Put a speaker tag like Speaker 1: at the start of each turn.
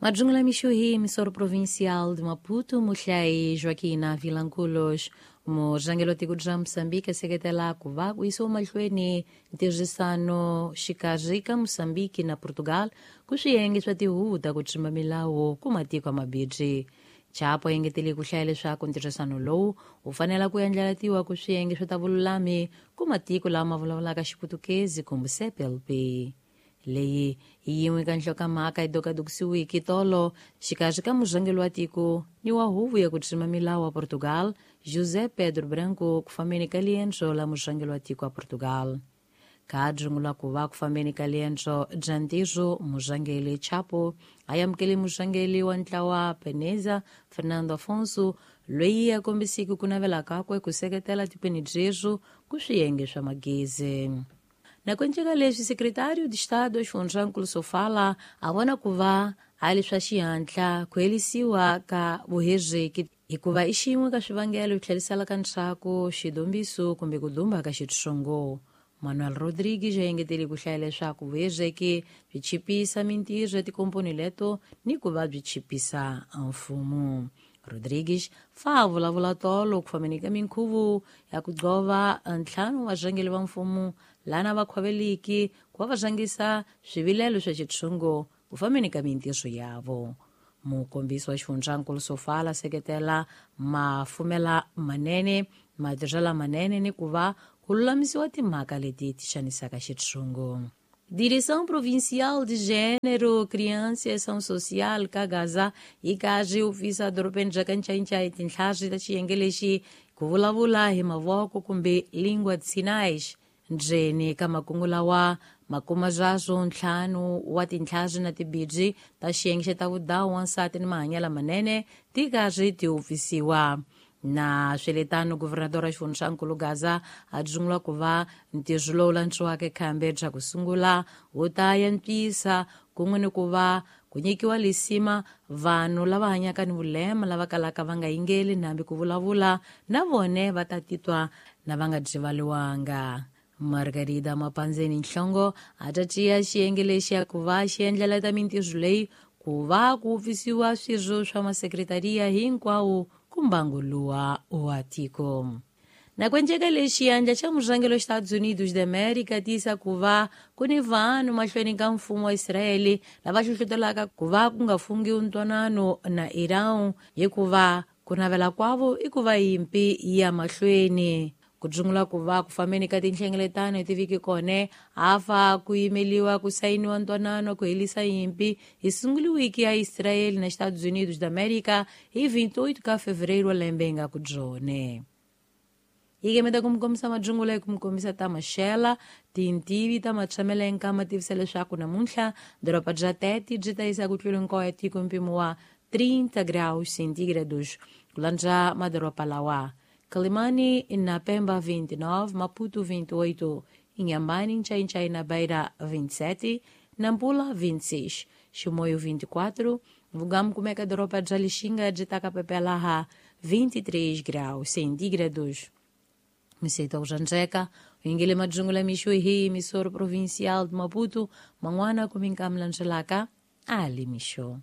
Speaker 1: Madzungula mixo hi emissora provincial de Maputo, muhlai Joaquina Vilanculos, murhangeri wa tiko ra Moçambique seketela ku va ku yisiwa mahlweni ntirhisano xikarhi ka Moçambique na Portugal ku swiyenge swa tihuvo ta ku tsimba milawu ku matiko mabirhi. Chapo engetele ku hlaya leswaku ntirhisano lowu wu fanela ku endlelatiwa ku swiyenge swa ta vululami ku matiko lama vulavulaka Xiputukezi kumbe CPLP. Leyi hi yin'we ka nhlokomhaka yi dokadokisiwiki tolo xikarhi ka murhangeri wa tiko ni wa huvo ya ku tsima milawu wa Portugal, José Pedro Branco, ku fambeni ka liendzo la murhangeri wa tiko wa Portugal. Ka dzungula ku va ku fambeni ka liendzo bya ntirho, murhangeri Chapo a amukele murhangeri wa ntlawa Peneza Fernando Afonso, loyi a kombisiki ku navela kakwe ku seketela tikweni byerhu ku swiyenge swa magezi. Na kuenceka leswi, secretário de Estado Xifundzankulu Sofala a vona ku va a li swa xihatla ku herisiwa ka vuhezeki hikuva i xin'we ka swivangelo swi tlheriselaka ndzhaku xidombiso kumbe ku dumba ka xitsongo. Manuel Rodrigues a engetele ku hlaya leswaku vuhezeki byi chipisa mintirho ya tikomponi leto ni ku va byi chipisa mfumo. Rodrigues fa a vulavula tolo ku fambeni ka minkhuvo ya ku gqova ntlhanu wa varhangeri va mfumo lana va khwaveliki ku va va rhangisa swivilelo swa xitshungu ku fambeni ka mintirho yavo. Mukombisi wa xifundzankulu Sofala seketela mafumela manene, matirhela manene ni ku va ku lulamisiwa timhaka leti ti xanisaka xitshungu. Direção Provincial de Gênero, Criança e Ação Social ka Gaza yi karhi wu dorobeni ra ka Ncayincai tintlhari ta xiyenge lexi ku vulavula hi mavoko kumbe língua de sinais. Ndzeni ka makungu lawa makuma byaswo ntlhanu wa tintlhari na tibidyi ta xiyenge xa ta vudawu wansati ni mahanyelo manene ti karhi ti upfisiwa. Na swiletano guvernador wa xifundzankulu Gaza a dzungula ku va ntirho lowu lantswiwaka khambe bya ku sungula wu ta antswisa kun'we ni ku va ku nyikiwa lisima vanhu lava hanyaka ni vulema lava kalaka va nga yingeli nambi ku vulavula na vone va ta titwa na va nga byivaliwanga. Margarida Mapanzeni Nhlongo a ta tiya xiyenge lexi ya ku va xi endlela ta mintirho leyi ku va ku pfisiwa swirho swa masekretariya hinkwawo ku mbangu luwa wa tiko. Na kuenceka lexi xiyandla xa murhangeri wa Estados Unidos de América tiyisa ku va ku ni vanhu mahlweni ka mfumo wa Israeli lava hlohlotelaka ku va ku nga fungiwi ntwanano na Iran hikuva ku navela kwavo i ku va yimpi ya mahlweni. Ku dzungula ku va ku fambeni ka tinhlengeletano hi tiviki kone hafa ku yimeliwa ku sayiniwa ntwanano ku helisa yimpi hi sunguliwiki ya Israeli na Estados Unidos da América hi 28 ka fevereiro lembe nga ku dzone. Yi kemeta ku mi kombisa madzungula hi ku mi kombisa ta maxela tintivi ta matshamelo nkama tivisa leswaku namuntlha doroba bya Tete byi ta yisa ku tlula nkoho ya tiko mpimo wa 30 graus centígrados ku landza madoroba lawa: Quelimane na Pemba 29, Maputo 28, Inhambane, Nchai na Beira 27, Nampula 26, Chimoio 24, Vugamu kumeka doroba bya Lixinga byi ta kapepelaha 23 graus centígrados. Miseta ujanjeka uyingele madzungula mixo hi emissora provincial de Maputo, man'wana kuminkamlanjelaka ali mixo.